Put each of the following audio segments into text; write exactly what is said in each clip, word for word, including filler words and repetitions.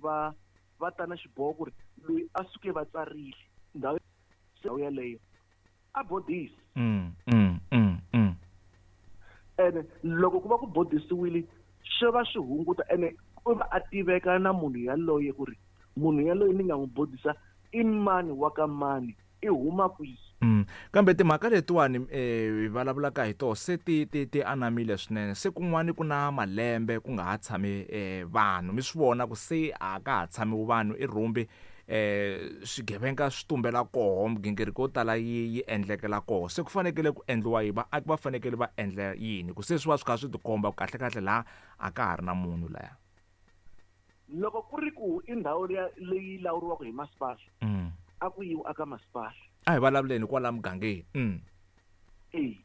Va va ta na xiboho ku ri loyi a suke va tsarile ndhawu ndhawu yaleyo a bodisa. Mm, mm, mm, mm. Ene loko ku va ku bodisiwile swi va swi hunguta, ene u va a tiveka na munhu yaloye ku ri munhu yaloye ni nga n'wi bodisa i mani wa ka mani, i huma kwihi. Mm. Kambe timhaka letiwani eh hi vulavulaka hi toho se ti ti ti anamile swinene, se kun'wani ku na malembe ku nga ha tshami eh vanhu, mi swi vona ku se a ka ha tshamiwi vanhu i rhumbi, eh swigevenga swi tumbela koho, migingiriko yo tala yi yi endlekela koho, se ku fanekele ku endliwa yini, vaaki va fanekele va endla yini ku se swi va swi kha swi tikomba ku kahle kahle laha a ka ha ri na munhu laya? Loko ku ri ku i ndhawu leyi lawuriwaka hi masipala, Mm. a ku yiwi aka masipala. A hi vulavuleni kwala mugangeni. Mm. E.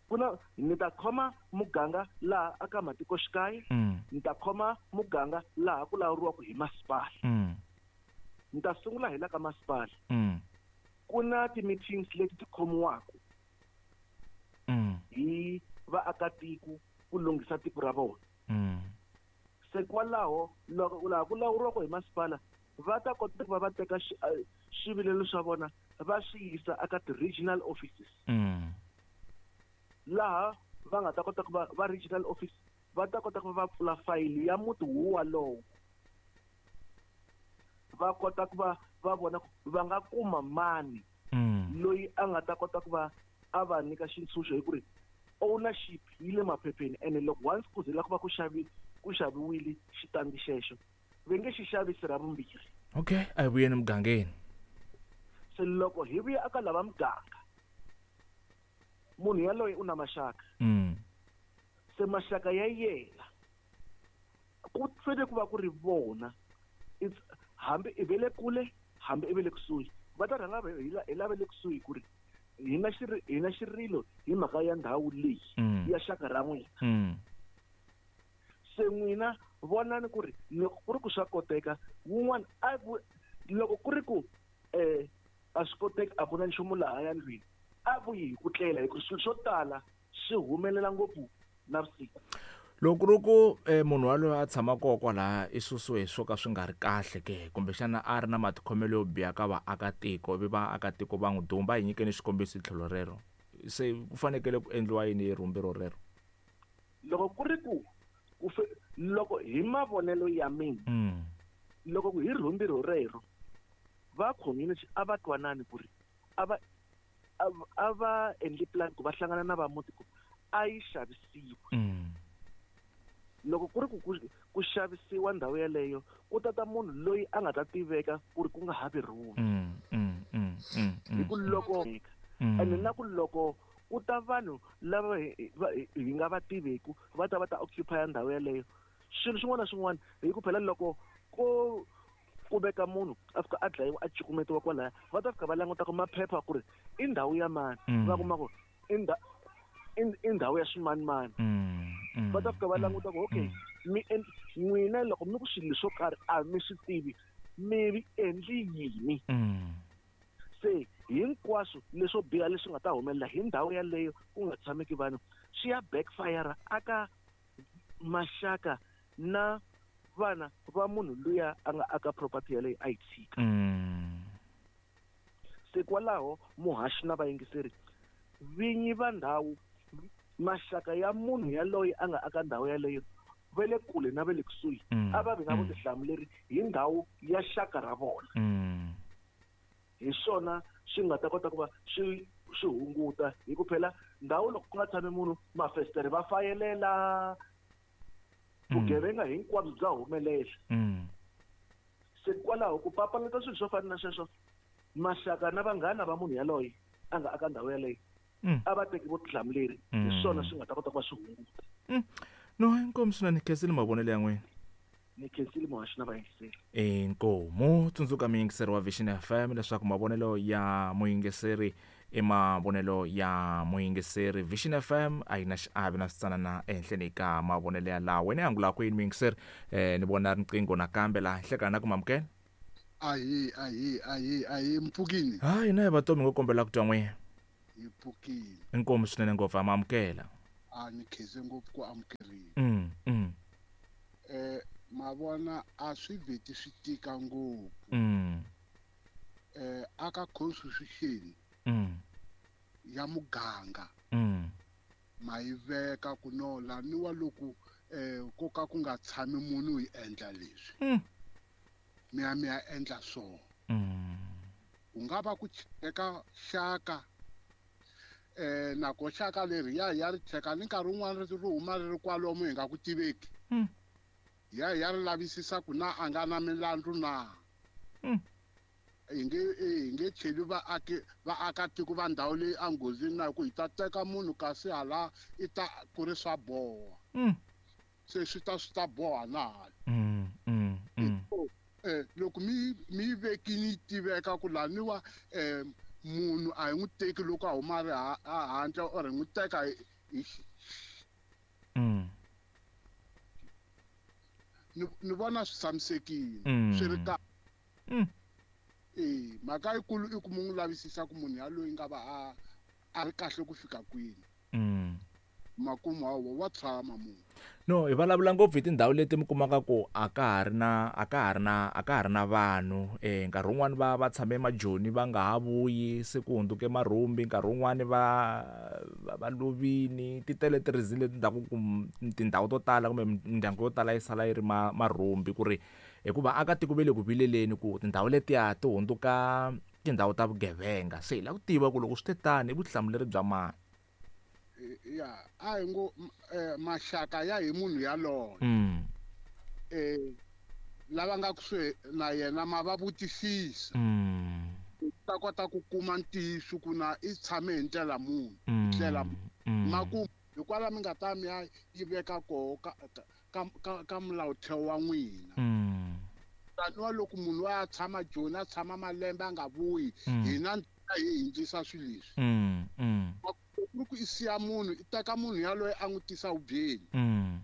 Ku na ni ta khoma muganga laha aka matikoxikaya, Mm. ni ta khoma muganga laha ku lawuriwaka hi masipala. Mm. Ni ta sungula hi la ka masipala. Mm. Ku na ti-meetings leti ti khomiwaka Mm. hi vaakatiko ku lunghisa tiko ra vona. Mm. Se kwalaho loko laha ku lawuriwaka hi masipala va ta kota ku va va teka xi-, eh, swivilelo swa vona va swi yisa eka ti-regional offices. Mm. Laha va nga ta kota ku va, va regional office va ta kota ku va va pfula fayili ya muti wowalowo. Va kota ku va va vona ku va nga kuma mani Mm. loyi a nga ta kota ku va a va nyika xintshunxo hi ku ri ownership yi le maphepheni, ene loko once ku ze la ku va ku xavi-, ku xaviwile xitandi xexo va nge xi xavisi ra vumbirhi. Okay, a hi vuyeni mugangeni. Se loko hi vuya eka lava muganga, munhu yaloye u na maxaka. Mm. Se maxaka ya yena ku fanele ku va ku ri vona, it's hambi i ve le kule hambi i ve le kusuhi, va ta rhanga hi la-, hi lava le kusuhi ku ri hi na xiri-, hi na xirilo hi mhaka ya ndhawu leyi Mm. ya xaka ra n'wina. Mm. Se n'wina vonani ku ri loko ku ri ku swa koteka wun'wana a vu-, loko ku ri ku, eh, a swi koteki, a ku na nchumu laha ya ndlwini, a vuyi hi ku tlela, hi ku swilo swo tala swi humelela ngopfu navusiku. Loko ku ri ku, eh, munhu waloye a tshama kona kwalaya i susiwe hi swo ka swi nga ri kahle ke, kumbexana a ri na matikhomelo yo biha ka vaakatiko, ivi vaakatiko va n'wi dumba, hi nyikeni xikombiso hi tlhelo rero, se ku fanekele ku endliwa yini hi rhumbi rorero? Loko ku ri ku, ku fe-, loko hi mavonelo ya mina, Mm. loko ku hi rhumbi rorero, va community a va twanani ku ri a va, a va, a va endli plan ku va hlangana na va muti ku a yi xavisiwi. Mm. Loko ku ri ku, ku, ku xavisiwa ndhawu yaleyo, ku tata munhu loyi a nga ta tiveka ku ri ku nga ha vi rhumbi. Mm, mm, mm, mm, Hi ku mm. loko Mm. ene na ku loko ku ta vanhu lava hi, hi, va, hi, hi nga va tiveku, va ta va ta occupy ndhawu yaleyo, swilo swin'wana na swin'wana, hi ku phela loko ko ku veka munhu a fika a dlayiwa a cukumetiwa kwalaya, va ta fika va languta ku maphepha ku ri i ndhawu ya mani, Mm. va kuma ku i ndha-, i, i ndhawu ya swimanimani. Mm, mm, Va ta fika va mm, languta ku okay, mm. mi en-, n'wina loko mi ku swilo swo karhi a mi swi tivi, mi endli yini? Mm. Se hinkwaswo leswo biha leswi nga ta humelela hi ndhawu yaleyo ku nga tshameki vanhu, swi ya backfire aka maxaka na vana va munhu luya a nga aka property yaleyo a yi tshika. Mm. Se kwalaho muhaxi na vayingiseri, vinyi va ndhawu, maxaka ya munhu yaloye a nga aka ndhawu yaleyo va le kule na va le kusuhi, Mm. a va vi na Mm. vutihlamuleri hi ndhawu ya xaka ra vona. Mm. Hi swona swi nga ta kota ku va swi, swi hunguta, hi ku phela ndhawu loko ku nga tshami munhu, mafestere va fayelela, Mm. vugevenga hinkwabyo bya humelela. Mm. Se kwalaho ku papalata swilo swo fana na sweswo, maxaka na vanghana va munhu yaloye a nga aka ndhawu yaleyo, Mm. a va teki vutihlamuleri, hi Mm. swona swi nga ta kota ku va swi hunguta. Mm. No, inkomu swinene, khensile mavonelo ya n'wina. Ni khensile muhaxi na vayingiseri. Inkomu, tsundzuka muyingiseri wa Vision F M leswaku mavonelo ya muyingiseri i mavonelo ya muyingiseri. Vision F M a yi na xiave na switsanana ehenhleni ka mavonelo ya lawa. Wena angula kwini muyingiseri? Eh, ni vona riqingho nakambe laha hlekana na ku mamukela. Ahi, ahi, ahi, ahi, mpfukini. Hayi, na hi vatomi ngo kombela ku twa n'wina. Hi pfukile. Inkomu swinene ngopfu, amamukela. A ni khense ngopfu ku amukeriwa. Mm, mm. Eh, Ma vona a swi vheti swi tika ngopfu. Mm. Eh aka constitution Mm. ya muganga Mm. ma yi veka ku no laniwa loko eh ko ka ku nga tshami munhu hi endla leswi. Mm. Mi ya mi ya endla so. Mm. Ku nga va ku cheka xaka eh nako xaka leri ya ya ri cheka ni nkarhi wun'wana ri huma ri ri kwalomu hi nga ku tiveki. Mm. Ya ya ri lavisisa ku na a nga na milandzu na. Mm. Hi nge hi nge cheli vaaki vaakatiko va ndhawu leyi enghozini na ku hi ta teka munhu kasi hala i ta ku ri swa boha. Mm. Se swi ta swi ta boha na hala. Mm. Mm. Mm. Eh loko mi mi yi vekini yi tiveka ku laniwa eh munhu a hi n'wi teki loko a huma a ri a handle or hi n'wi teka hi Mm. ni ni vona swi tshamisekile Mm. swi ri kahle. Mm. Eh mhaka yikulu i ku mu n'wi lavisisa ku munhu yaloyi nga va a a ri kahle ku fika kwini. Mm. Makumu hawa wa tshama munhu. No, hi vulavula ngopfu hi tindhawu leti mi kumaka ku a ka ha ri na a ka ha ri na a ka ha ri na vanhu eh nkarhi wun'wani va va tshame majoni va nga ha vuyi se ku hundzuke marhumbi nkarhi wun'wani va va lovini ti tele ti-reason leti endlaku ku tindhawu to tala kumbe mindyangu yo tala yi sala yi ri ma marhumbi ku ri hikuva akatiko ve le ku vileleni ku tindhawu letiya ti hundzuka tindhawu ta vugevenga se hi lava ku tiva ku loko swi te tani i vutihlamuleri bya mani. Ya a hi ngo maxaka ya hi munhu yaloye. Mm. Eh lava nga kusuhi na yena ma va vutisisa. Mm. Ta kota ku kuma ntiyiso ku na i tshame hi ndlela muni, Mm. ndlela Mm. makumu hikwalaho mi nga ta mi ya yi veka koho ka ka ka ka mulaotheo wa n'wina. Mm. Taniwa loko munhu wa tshama Joni a tshama malembe a nga vuyi Mm. hina hi hindzisa swilo leswi. Mm. Mm. Ku ri ku i siya munhu i teka munhu yaloye a n'wi tisa hubyeni. Mm.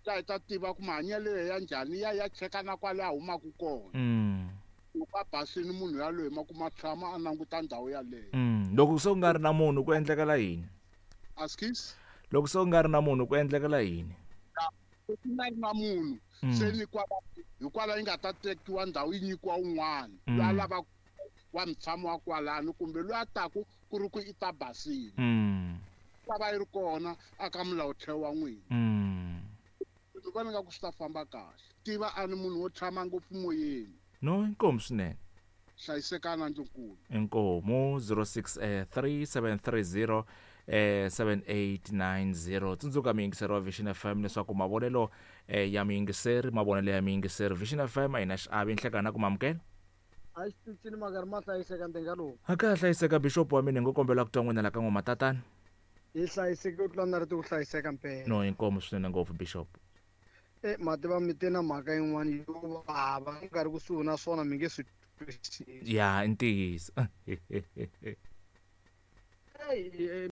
La hi ta tiva ku mahanyelo ya njhani ya ya cheka na kwale a humaka kona. Mm. Loko a basile munhu yaloye ma kuma tshama a languta ndhawu yaleyo. Mm. Loko se ku nga ri na munhu ku endlekela yini? Askies? Loko se ku nga ri na munhu ku endlekela yini? Ku nga ri na munhu Mm. se ni kwala hikwalaho yi nga ta tekiwa ndhawu yi nyikiwa un'wana Mm. loyi a lavaka wa mutshami wa kwalano kumbe loyi a taku ku ri ku i ta basile. Mm. Ta va yi ri kona aka mulaotheo wa n'wina. Mm. Ni vona nga ku swi ta famba kahle. Tiva a ni munhu wo tshama ngopfu moyeni. No, inkomu swinene. Hlayisekana ndlunkulu. Inkomu zero six eh, three seven three zero eh, seven eight nine zero. Tsundzuka miyingiseri wa Vision F M leswaku mavonelo eh, ya miyingiseri mavonelo ya miyingiseri Vision F M a yi na xiave nhlekana ku mamukela. A xi cincile mhaka ri ma hlayiseka ndenga lowu. A ka ha hlayiseka bishop wa mina hi ngo kombela ku twa n'wina la ka n'we matatana. Hi hlayiseke ku tlula na ri ku hlayiseka mpela. No, inkomu swinene ngopfu bishop. Eh mativa mi te na mhaka yin'wana yo vava mi nga ri kusuhi na swona mi nge swi twisisi. Ya, i ntiyiso. Ey,